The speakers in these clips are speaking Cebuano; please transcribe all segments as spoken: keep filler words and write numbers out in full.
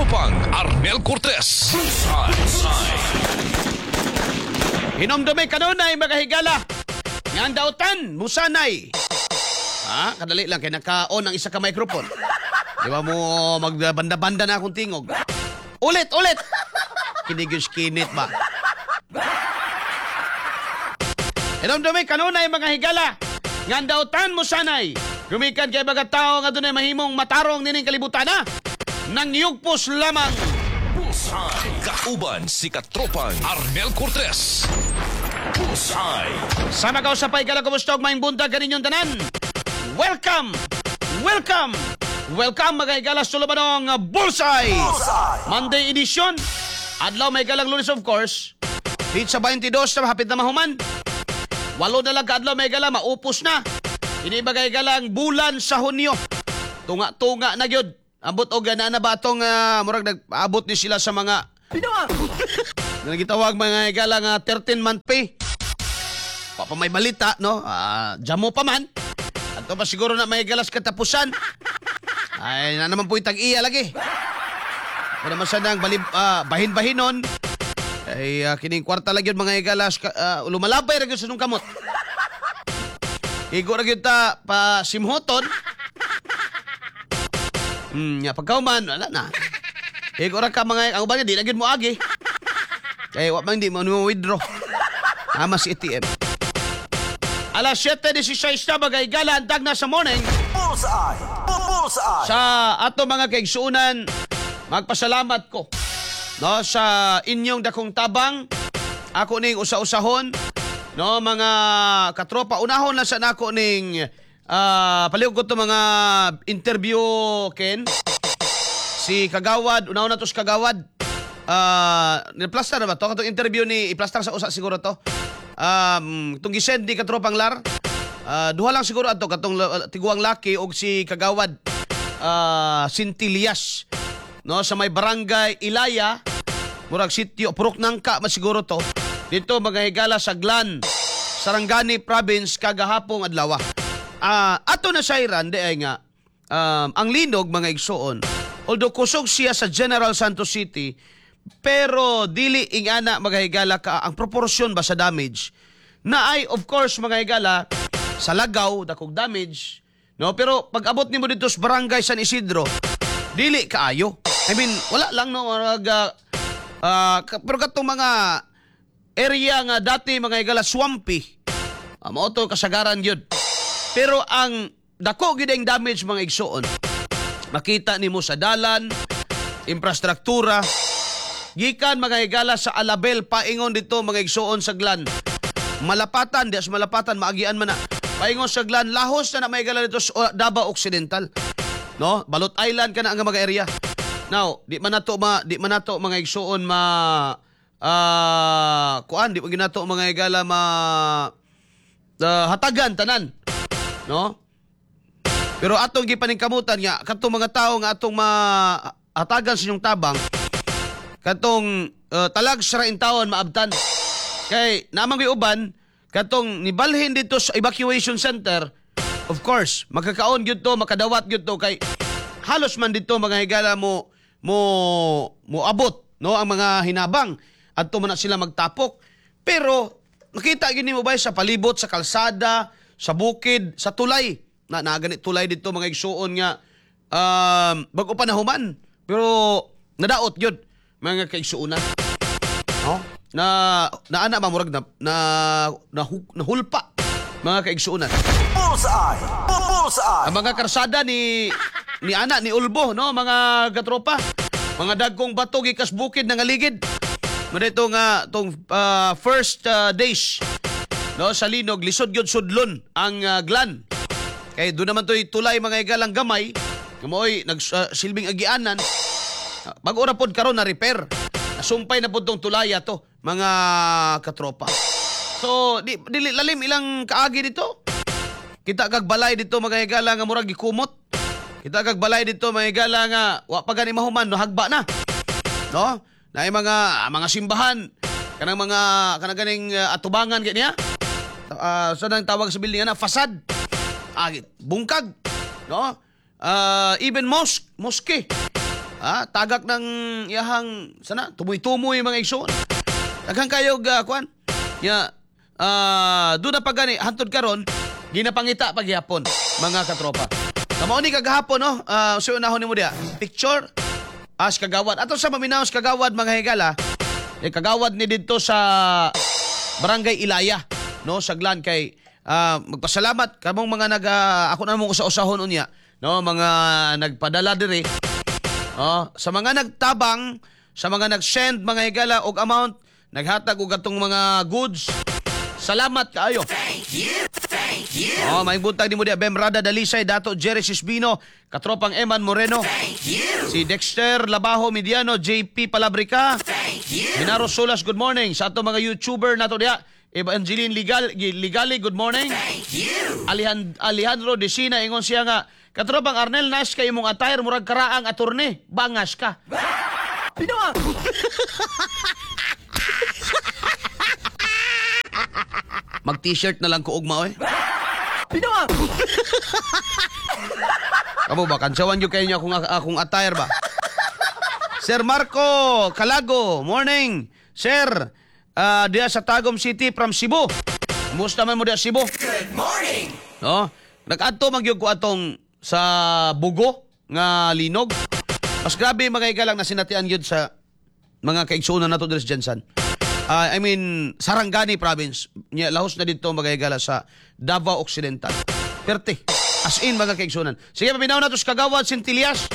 Katropang Arnel Cortez. Bullseye. Hinomdumi kanunay, mga higala, nga ang dautan musanay. Ha, kadali lang kay naka-on ang isa ka microphone. Di ba mo magbanda-banda na akong tingog? Ulit, ulit. Kinigis kinit ba? Hinomdumi kanunay, mga higala, nga ang dautan musanay. Gumikan kay mga tao nga dunay mahimong matarong nining kalibutan na. Nangyugpos lamang. Bullseye. Kauban si Katropang Arnel Cortez. Bullseye. Sama ka sa paigala, kumusta og maayong buntag kaninyong tanan. Welcome! Welcome! Welcome, mga higala, sa Tulubanong Bullseye! Monday edition. Adlaw may galang Lunes, of course. Dito sa twenty-two na hapit na mahuman. Walo na lang kaadlaw, may gala, maupos na. Ini ba galang bulan sa Hunyo. Tunga-tunga na gyud. Ambot og na na ba atong uh, murag nag-abot ni sila sa mga na gitawag, mga higala, nga thirteen month pay. Pa pa may balita, no? Ah, jamo pa man. Ato pa siguro na may galas katapusan. Ay, na naman po yung tag-iya lagi. Kung naman sa nang balib, ah, bahin-bahinon, ay uh, kining kwarta lagi yun, mga higalas, uh, lumalabay ra gyud sa nung kamot. Igo ra gyud ta pa simhoton. Hmm, ya pagkauman, wala na. Igo ra ka mga ang uban niya, di na gyud mo agi. Kay wa man di mo mo withdraw. Ama si A T M. Alas siyete labing sais na, mga higala, ang na sa morning. Bullseye! Bullseye! Sa ato mga kaigsuunan, magpasalamat ko, no, sa inyong dakong tabang. Ako ning usa-usahon, no, mga katropa. Unahon lang sa nako ning ah palihog ko to mga interview ken si Kagawad, unahon na to si Kagawad. Ah, uh, na ba to? Katong interview ni i-plaster sa usa siguro to. Um, itong gisend ni katropang Lar. Ah, duha lang siguro ato katong uh, tiguang laki og si Kagawad ah Sintilias, no, sa may barangay Ilaya, murag sitio Purok Nangka man siguro to dito, mga higala, sa Glan, Sarangani Province kagahapong adlaw. Ah, ato na sayran di ay nga um, ang linog, mga igsuon, although kusog siya sa General Santos City, pero dili ingana, mga higala, ka ang proportion ba sa damage na ay, of course, mga higala, sa Lagaw dakog damage, no, pero pag abot nimo dito sa barangay San Isidro, dili kaayo. I mean, wala lang, no, mag, ah, ah, ka- pero katong mga area nga dati, mga higala, swampy, uh, mao to kasagaran gyud. Pero ang dako gyud ang damage, mga igsuon, makita nimo sa dalan, infrastruktura, gikan, mga higala, sa Alabel paingon dito, mga igsuon, sa Glan. Malapatan, di sa Malapatan maagian man na. Paingon sa Glan, lahos na na may higala dito sa uh, Davao Occidental. No? Balot Island kana ang mga area. Now, di man nato ma di man nato, mga igsuon, ma ah kuan, di man ginato, mga higala, ma uh, hatagan tanan. No? Pero atong gipaningkamutan nga katong mga tao nga atong mahatagan sa inyong tabang, katong uh, talag sa taon maabtan. Kay namang uban katong nibalhin dito sa evacuation center, of course, makakaon gyud to, makadawat gyud to kay halos man dito, mga higala, mo mo mo abot, no, ang mga hinabang adto man na sila magtapok. Pero nakita gyud nimo ba sa palibot sa kalsada, sa bukid, sa tulay na naa gani tulay dito, mga igsuon, nga um, bago pa nahuman pero nadaot gyud, mga kaigsuonan, no, na naana ba murag na na, na nahulpa, mga kaigsuonan. Bullseye! Bullseye! Ang mga karsada ni ni ana ni Ulbo, no, mga katropa. Mga dagkong bato gikas bukid nga ligid. Mao nga tong ah, first ah, days, no, sa linog, lisod gyud sudlon ang ah, Glan. Kay doon naman to'y tulay, mga higalang gamay, nga mao'y nag ah, silbing agianan. Ah, Bago ra pod karon na repair. Nasumpay na pod tong tulaya to, mga katropa. So, di, dili lalim ilang kaagi dito. Kita kag balay dito, mga higala, nga murag gikumot. Kita kag balay dito, mga higala, nga wa pa gani mahuman no hagba na. No? Naay mga ah, mga simbahan kanang mga kanang ganing uh, atubangan kay niya. Uh, sa nang tawag sa building ana fasad. Ah, bungkag. No? Ah, even mosque, mosque. Ah, tagak ng iyahang sana tumoy-tumoy, mga igsoon. Daghan kayo uh, kuan. Ya, ah, doon na pa gani hantod karon ginapangita paghihapon, mga katropa. Kamao ni kagahapon, no? Uh, so unahon nimo diya. Picture as kagawad. Ato sa maminaw sa kagawad, mga higala. Eh, kagawad ni didto sa Barangay Ilaya, no, saglan kay ah, magpasalamat kamong mga nag ah, ako na mong usa-usahon unya, no, mga nagpadala diri. Oh, sa mga nagtabang, sa mga nag-send, mga higala, og amount, naghatag og atong mga goods. Salamat kaayo. Thank you. Thank you. Oh, may buntag nimo diya Bem Rada Dalisay, Dato Jerry Sisbino, Katropang Eman Moreno. Thank you. Si Dexter Labajo Mediano, J P Palabrica. Thank you. Minaro Solas, good morning. Sa ato mga YouTuber nato diya, Evangeline Ligal, Ligali, good morning. Thank you. Alihan, Alejandro Desina, ingon siya nga, "Katropang Arnel, nice kay imong attire, murag karaang attorney, bangas ka." Binawa! Mag T-shirt na lang ko ugma oy. Binawa! Kamo ba kantsawan gyud kayo niyo akong akong attire ba? Sir Marco Calago, morning. Sir, uh, diya sa Tagum City from Cebu. Kumusta man mo diya Cebu? Good morning. No? Nag-adto man gyud ko atong sa Bugo nga linog. Mas grabe, mga igalang, na sinatian gyud sa mga kaigsuonan nato diri sa GenSan. Ah, I mean, Sarangani Province. Nya lahos na dito, mga higala, sa Davao Occidental. Perte. As in, mga kaigsuonan. Sige, paminaw na to sa Kagawad Sintilias.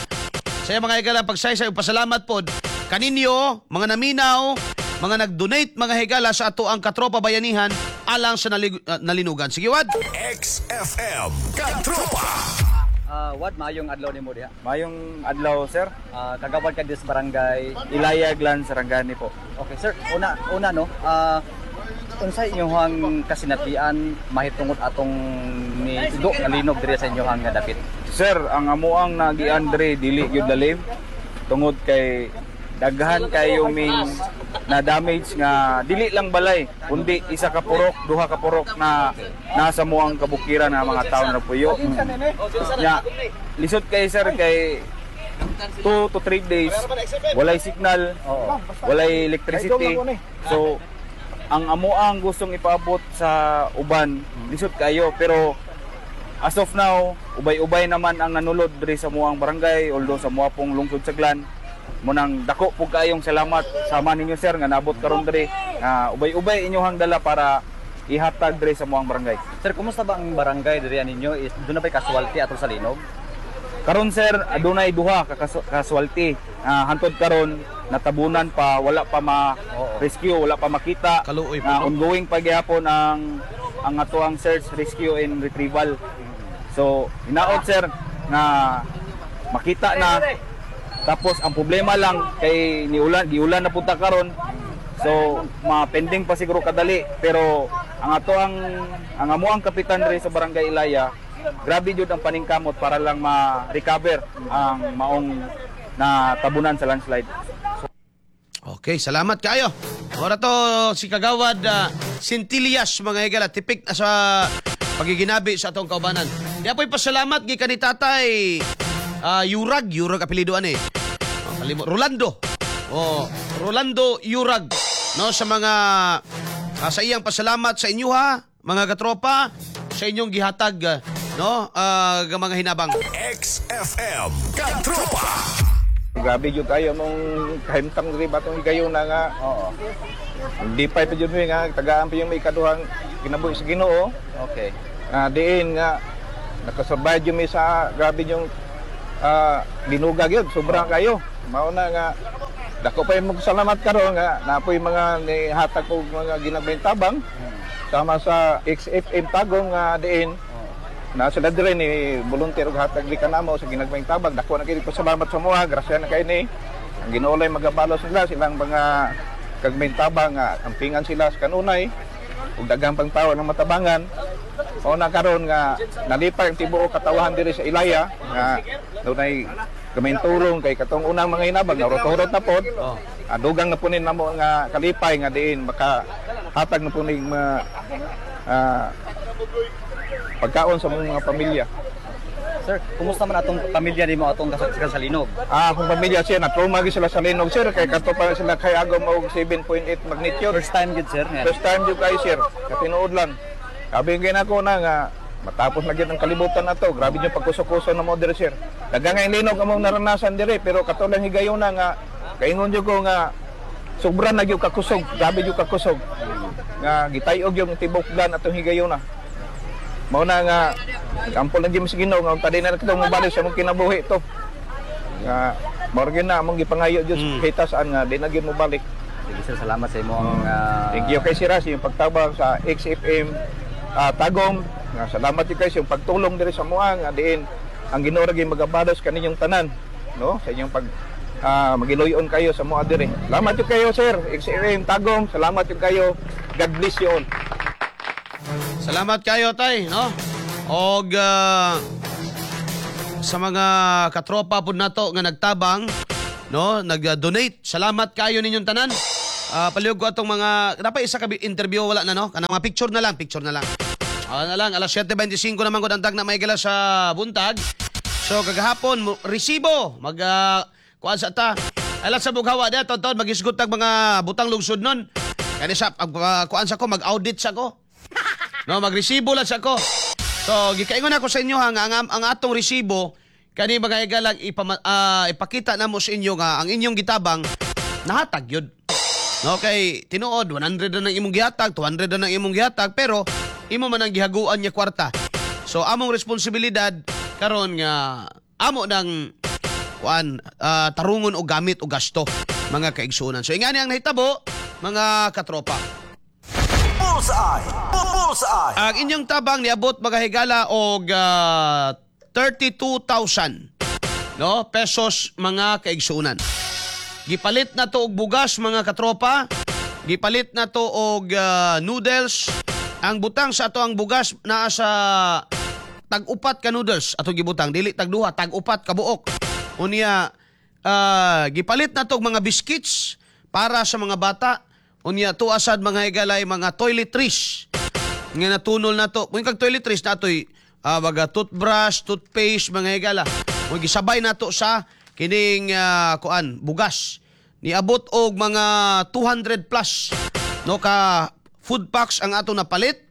Sa mga higala, pagsaysay ug pasalamat pod kaninyo, mga naminaw, mga nag-donate, mga higala, sa ato ang Katropa Bayanihan alang sa nalig- ah, nalinugan. Sige, Wad. X F M Katropa. Ah, Wad, maayong adlaw nimo diha. Mayong adlaw, sir. Ah, kagawad ka dis barangay? Ilaya Glan, Sarangani po. Okay, sir. Una, una no. Ah, unsay inyong kasinatian mahitungod atong ni igo nga linog diri sa inyong nga dapit? Sir, ang amuang nagian diri dili gyud lalim tungod kay daghan kayo ming na damage nga dili lang balay kundi isa ka purok, duha ka purok na nasa muang kabukiran nga mga tao na puyo. Nya lisod kay, sir, kay two to three days walay signal, walay electricity. So ang amuang gustong ipaabot sa uban lisod kayo, pero as of now, ubay-ubay naman ang nanulod diri sa muang barangay, although sa mua pong lungsod sa Glan. Munang dako po kaayong salamat sama ninyo, sir, nga nabot karon diri nga ubay-ubay inyohang dala para ihatag diri sa muang barangay. Sir, kumusta ba ang barangay diri ninyo? Is duna bay casualty atol sa linog? Karon, sir, adunay duha ka kasu- casualty. Ah, hantod karon natabunan pa, wala pa ma-rescue, wala pa makita. Kaluoy po, Ah, no? Ongoing pa gyapon ang ang atoang search, rescue and retrieval. So, hinaot, sir, nga makita na. Tapos ang problema lang kay niulan, giulan na punta karon. So, ma-pending pa siguro kadali, pero ang ato ang ang amuang kapitan diri sa Barangay Ilaya, grabe jud ang paningkamot para lang ma-recover ang maong na tabunan sa landslide. Okay, salamat kayo. Ora to si Kagawad uh, Sintilias, mga higala, tipik na sa pagiginabi sa atong kaubanan. Di apoy pasalamat gikan ni Tatay ah, Yurag, Yurag apelyido ani. Oh, kalimo Rolando. Oh, Rolando Yurag, no, sa mga ah, sa iyang pasalamat sa inyo ha, mga katropa, sa inyong gihatag ah, no, ah, nga mga hinabang. X F M Katropa. Grabe jud kayo mong kahimtang diri ba tong higayon na nga. Oo. Hindi pa jud mi nga tagaan pa yung may ikaduhang kinabuhi sa Ginoo. Okay. Nga diin nga nakasurvive jud mi sa grabe yung uh, linuga gyud, sobra kayo. Mao na nga dako pa yung salamat karon nga napoy mga nihatag og mga ginagmayng tabang sama sa X F M Tagum nga diin na sila dire ni volunteer og hatag di kanamo sa ginagmayng tabang. Dako na kay pasalamat sa moha, grasya na kay ni ang Ginoo lay magabalos nila silang mga kagmayng tabang nga ampingan sila sa kanunay ug daghang pang tawo ng matabangan. Mao na karon nga nalipay ang tibuok katawahan diri sa Ilaya nga dunay gamay tulong kay katong unang mga hinabang narot-urot na pod. Oh. Ah, dugang na punin namo nga kalipay nga diin maka hatag na puning mga ah, pagkaon sa mga pamilya. Sir, kumusta man atong pamilya nimo atong kasagsagan sa linog? Ah, akong pamilya siya na trauma gyud sila sa linog, sir, kay kato pa sila kay agom og seven point eight magnitude. First time gyud, sir, nga. First time jud kayo, sir. Katinuod lang. Sabi gyud nako na nga matapos na gyud ang kalibutan na to. Grabe yung pagkuso-kuso na mo diri, sir. Daghang nga linog among naranasan diri, pero kato lang higayuna nga kaingon jud ko nga sobra na gyud kakusog, grabe gyud kakusog. Nga gitayog yung tibok gan atong higayuna. Mao na nga kampo lang gyud sa Ginoo nga unta di na kita mobalik sa among kinabuhi to. Nga mao gyud na among gipangayo jud mm. kita saan nga di na gyud mobalik. Sige sir, salamat sa imong ah, Thank you kay Sir sa iyong pagtabang sa X F M ah, Tagum. Nga salamat jud kay sa iyong pagtulong diri sa mua nga diin ang Ginoo ra gyud magabalos kaninyong tanan, no, sa inyong pag ah, magiluyon kayo sa mua diri. Salamat jud kayo, sir. X F M Tagum, salamat jud kayo. God bless you all. Salamat kayo, tay, no? Og ah, sa mga katropa pud nato nga nagtabang, no, nag-donate. Salamat kayo ninyong tanan. Ah, palihog ko atong mga dapat isa ka interview, wala na, no? Kanang mga picture na lang, picture na lang. Ah, na lang alas siyete bente singko naman gud ang tagna may gala sa buntag. So kagahapon mo, resibo mag ah, kuan sa ta. Alas sa bughawa dia taon magisgot tag mga butang lungsod nun. Kani sa pag uh, kuan sa ko, mag-audit sa ko. No, magresibo lang sa ko. So, gikaingon ako sa inyo ha, nga ang, ang atong resibo kani mga higalang ipama, ah, ipakita namo sa inyo nga ang inyong gitabang nahatag yun. No, kay tinuod one hundred na ng imong gihatag, two hundred na ng imong gihatag, pero imo man ang gihaguan niya kwarta. So among responsibilidad karon nga amo ng kuan ah, tarungon og gamit o gasto, mga kaigsuonan. So ingani ang nahitabo, mga katropa. Bullseye! Bullseye! Ang inyong tabang niabot, mga higala, og ah, thirty-two thousand, no, pesos, mga kaigsuonan. Gipalit na to og bugas, mga katropa. Gipalit na to og ah, noodles. Ang butang sa ato ang bugas naa sa tag-upat ka noodles ato gibutang, dili tag duha, tag-upat ka buok. Unya ah, gipalit na to og mga biscuits para sa mga bata. Unya tuasad, mga higalay, mga toiletries nga natunol na to. Kung kag toiletries na to'y uh, mga toothbrush, toothpaste, mga higala. Kung gisabay na to sa kining ah, kuan bugas. Niabot og mga two hundred plus, no, ka food packs ang ato napalit.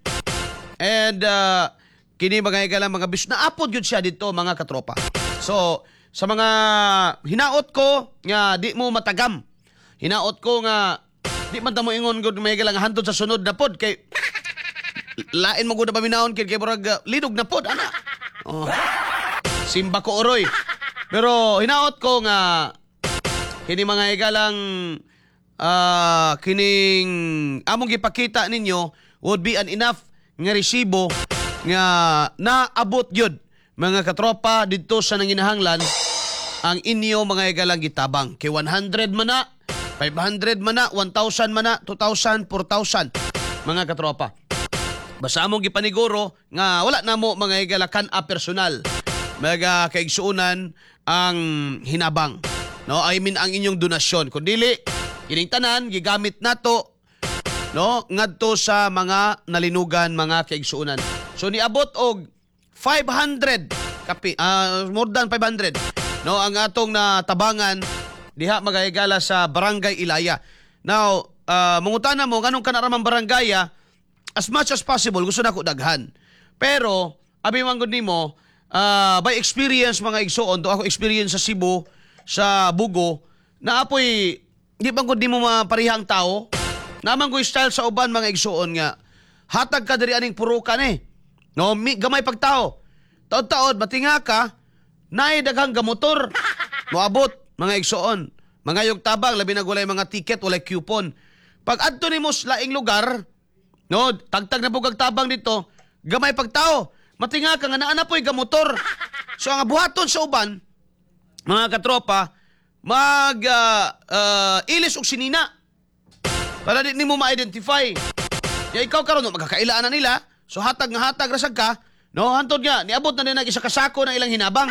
And uh, kini, mga higala, mga bis naapod gyud siya dito, mga katropa. So sa mga hinaot ko nga di mo matagam. Hinaot ko nga di man ta mo ingon gud, mga higala, nga hantod sa sunod na pod kay lain mo gud na paminahon kay kay murag uh, linog na pod ana. Oh. Simba ko oroy. Pero hinaot ko nga kini, mga higalang, ah, kining among gipakita ninyo would be an enough nga resibo nga naabot gyud, mga katropa, didto sa nanginahanglan ang inyo, mga higalang, gitabang. Kay one hundred man na, five hundred man na, one thousand man na, two thousand, four thousand, mga katropa. Basta among gipaniguro nga wala na mo, mga higala, kan a personal, mga kaigsuonan, ang hinabang. No, I mean ang inyong donasyon. Kung dili, kining tanan gigamit nato, no, ngadto sa mga nalinugan, mga kaigsuonan. So niabot og five hundred kapi ah, more than five hundred, no, ang atong natabangan diha, mga higala, sa Barangay Ilaya. Now, uh, mangutana mo nganong kana ra man barangay, as much as possible gusto nako daghan. Pero abi man gud nimo ah, by experience, mga igsuon, to ako experience sa Cebu, sa Bugo, na apoy di man gud nimo maparihang tao. Naman ko style sa uban, mga igsuon, nga hatag ka diri aning purukan eh. No, mi, gamay pagtao. Taod-taod matinga ka naay daghang gamotor. Moabot, mga igsuon. Mga yog tabang, labi na walay mga ticket, walay coupon. Pag adto nimo sa laing lugar, no, tagtag na pugag tabang dito, gamay pagtao. Matinga ka nga naa na po'y gamotor. So ang buhaton sa uban, mga katropa, mag ah, ah, ilis og sinina para di nimo ma-identify. Ya ikaw karon, no, magkakailaan na nila. So hatag nga hatag rasag ka, no, hantod nga niabot na din ang isa ka sako ng ilang hinabang.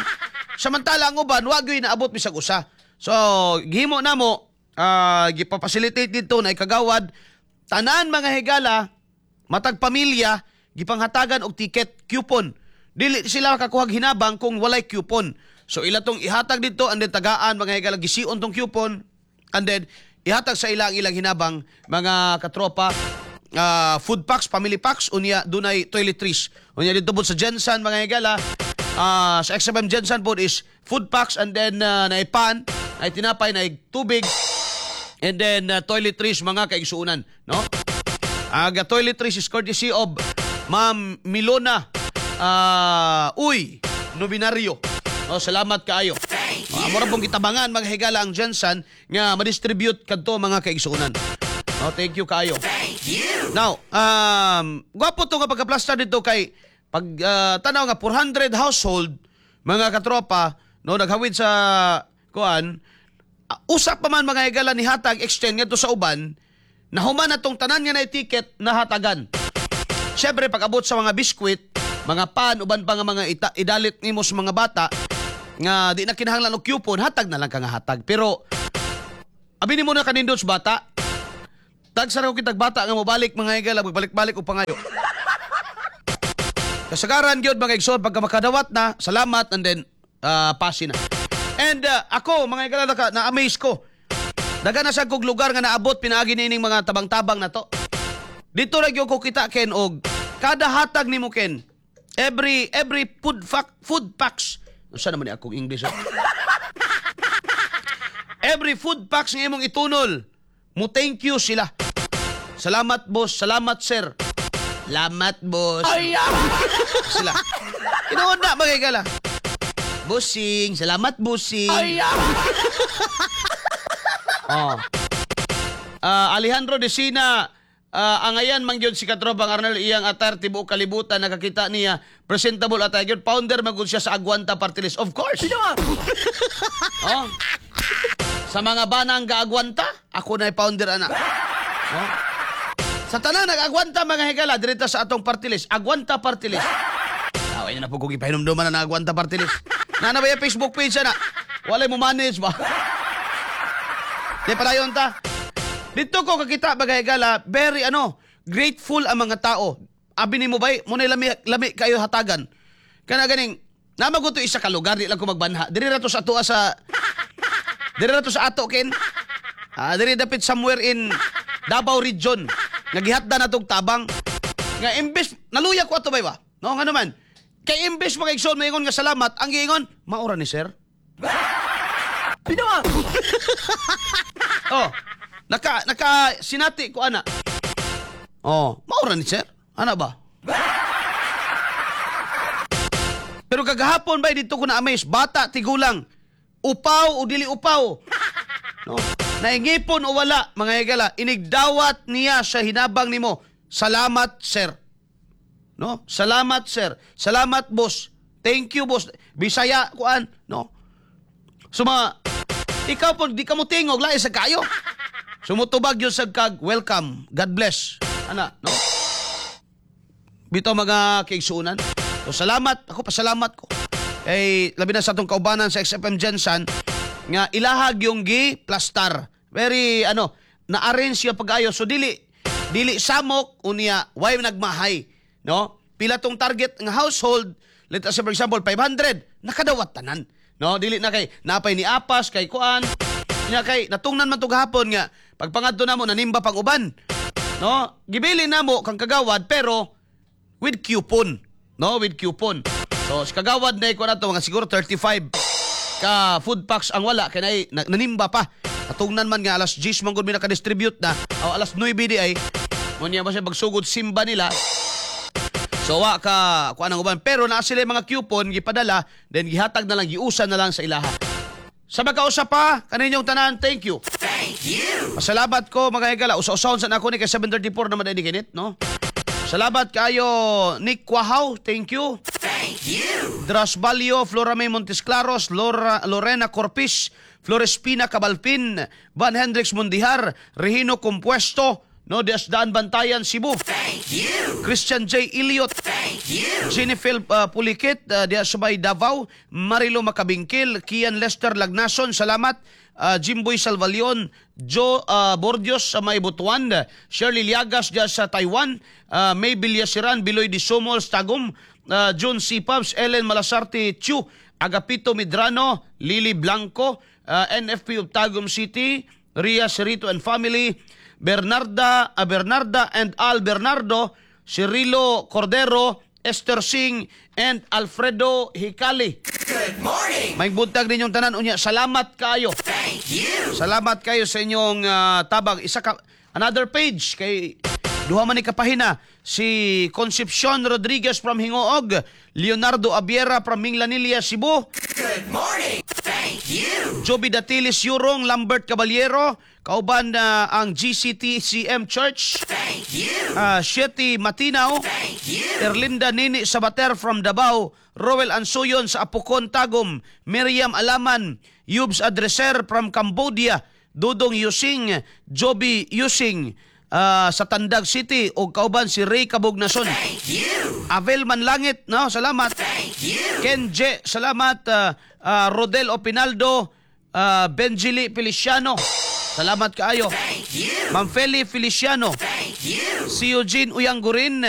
Samantala ang uban wa gyud naabot bisag usa. So gihimo namo, ah gipapacilitate dito na ikagawad tanan, mga higala, matag pamilya gipanghatagan og ticket coupon. Dili sila makakuhag hinabang kung walay coupon. So ila tong ihatag dito and then tagaan, mga higala, gision tong coupon and then ihatag sa ilang ilang hinabang, mga katropa. Uh, food packs, family packs, unya dunay toiletries. Unya dito po sa GenSan, mga higala, uh, sa X F M GenSan po is food packs and then uh, naay pan, naay tinapay, naay tubig and then uh, toiletries, mga kaigsuunan, no? Aga toiletries is courtesy of Ma'am Milona uh, Uy Nominario. No, salamat kaayo. Uh, amo ra pong gitabangan, mga higala, ang GenSan nga ma-distribute kadto, mga kaigsuunan. No, thank you kaayo. Now, um, gwapo to nga pagka-plaster dito kay pag uh, tanaw nga four hundred household, mga katropa, no, naghawid sa kuan, uh, usap pa man, mga higala, ni hatag extend ngadto sa uban, nahuman na tong tanan nga na ticket nahatagan. Siyempre, pag abot sa mga biskwit, mga pan, uban pa nga mga ita, idalit nimo sa mga bata, nga di na kinahanglan og coupon, hatag na lang ka nga hatag. Pero, abi nimo na kanindot sa bata, tagsa ra ko kitag bata nga mobalik, mga higala, magbalik-balik og pangayo. Kasagaran gyud, mga igsoon, pagka makadawat na, salamat and then uh, pasi na. And uh, ako, mga higala, naka, na-amaze ko. Daga na sa kog lugar nga naabot pinaagi nining mga tabang-tabang na to. Dito ra gyud ko kita, Ken, og kada hatag nimo, Ken, every every food fac, food packs. Unsa naman ni akong English, ah? Every food packs nga imong itunol, mo thank you sila. "Salamat, boss, salamat, sir. Salamat, boss." Sila. Tinuod na, mga higala. "Bossing, salamat, bossing." Oh. Ah, Alejandro de Sina, uh, angayan man gyud si katropang Arnel, iyang attire tibuok kalibutan nakakita niya, presentable attire gyud, founder man gud siya sa Agwanta Party List. Of course. Oh. Sa mga banang gaagwanta, ako na founder ana. Oh. Sa tanan nag-agwanta, mga higala, direta sa atong party list, Agwanta Party List. Away na po kung ipahinumduman na Agwanta Party List. Na na ba yung Facebook page na? Walay mo manage ba? Di padayon ta. Dito ko kakita, mga higala, very ano, grateful ang mga tao. Abi nimo bay, muna lami lami kayo hatagan. Kana ganing namago to isa ka lugar, di lang ko magbanha. Diri ra to sa atoa sa Diri ra to sa ato, Ken. Ah, diri dapit somewhere in Davao Region. Nagihatda na tog tabang. Nga imbes naluya ko ato bay ba? No, nga naman. Kay imbes mga igsoon maingon nga salamat, ang giingon, "Maura ni sir." Binuang! Oh, naka naka sinati ko ana. Oh, maura ni sir. Ana ba? Pero kagahapon ba dito ko na amaze, bata tigulang, upaw o dili upaw. No. Naingipon o wala, mga higala, inigdawat niya sa hinabang nimo. "Salamat, sir." No? "Salamat, sir. Salamat, boss. Thank you, boss." Bisaya kuan, no? Suma ikaw po di ka mo tingog lain sa kayo. Sumutubag yun sa kag "Welcome. God bless." Ana, no? Bito, mga kaigsuunan. So salamat, ako pasalamat ko. Kay labi na sa atong kaubanan sa X F M GenSan nga ilahag yung gi plastar. Very ano, na-arrange siya pag-ayo. So dili dili samok unya why nagmahay, no? Pila tong target nga household, let us say for example five hundred, nakadawat tanan. No, dili na kay napay ni apas kay kuan. Nya kay natungnan man to gahapon nga pagpangadto namo nanimba pag uban. No, gibili namo kang kagawad pero with coupon. No, with coupon. So, si kagawad na ko na to mga siguro thirty-five ka food packs ang wala kay nay na, nanimba pa. Natungnan man nga alas ten man gud mi naka-distribute na o alas nuwebe di ay. Munya ba siya pagsugod simba nila. So wa ka kuan ang uban pero naa sila yung mga coupon gipadala, then gihatag na lang, giusan na lang sa ilaha. Sa magkausa pa kaninyong tanan, thank you. Thank you. Pasalamat ko, mga higala. Usa-usahon sa nako ni kay seven thirty-four naman din kinit, no? Salamat kayo, Nick Quahaw, thank you. Thank you. Dras Balio, Flora May Montesclaros, Laura, Lorena Corpis, Florespina Cabalpin, Van Hendricks Mundihar, Regino Compuesto, no, Desdaan Bantayan, Cebu. Thank you. Christian J. Elliot. Thank you. Jennifer uh, Pulikit, uh, diya sa may Davao, Marilo Macabingkil, Kian Lester Lagnason, salamat. Uh, Jimboy Salvalion, Joe uh, Bordios sa may Butuan, Shirley Liagas diya sa Taiwan, uh, May Villasiran, Biloy Di Sumols, Tagum, uh, June C. Pubs, Ellen Malasarte Chu, Agapito Midrano, Lily Blanco, uh, N F P of Tagum City, Ria Cerrito and family, Bernarda, uh, Bernarda and Al Bernardo, Cirilo Cordero, Esther Singh, and Alfredo Hicali. Good morning. May buntag ninyong tanan, unya salamat kayo. Thank you. Salamat kayo sa inyong ah, tabang. Isa ka another page kay duha man ni kapahina, si Concepcion Rodriguez from Gingoog, Leonardo Abiera from Minglanilla, Cebu. Good morning. Thank you. Joby Datilis Yurong, Lambert Caballero, kauban na ang G C T C M Church. Thank you. uh, Shetty Matinaw, Thank you. Erlinda Nini Sabater from Davao, Roel Ansuyon sa Apokon, Tagum, Miriam Alaman, Yubs Adreser from Cambodia, Dudong Yusing, Joby Yusing ah, sa Tandag City ug kauban si Ray Kabugnason. Thank you. Avel Manlangit, no, salamat. Thank you. Kenje, salamat. ah, ah, Rodel Opinaldo, uh, Benjili Feliciano. Salamat kaayo. Thank you. Ma'am Feli Feliciano. Thank you. Si Eugene Uyanggurin.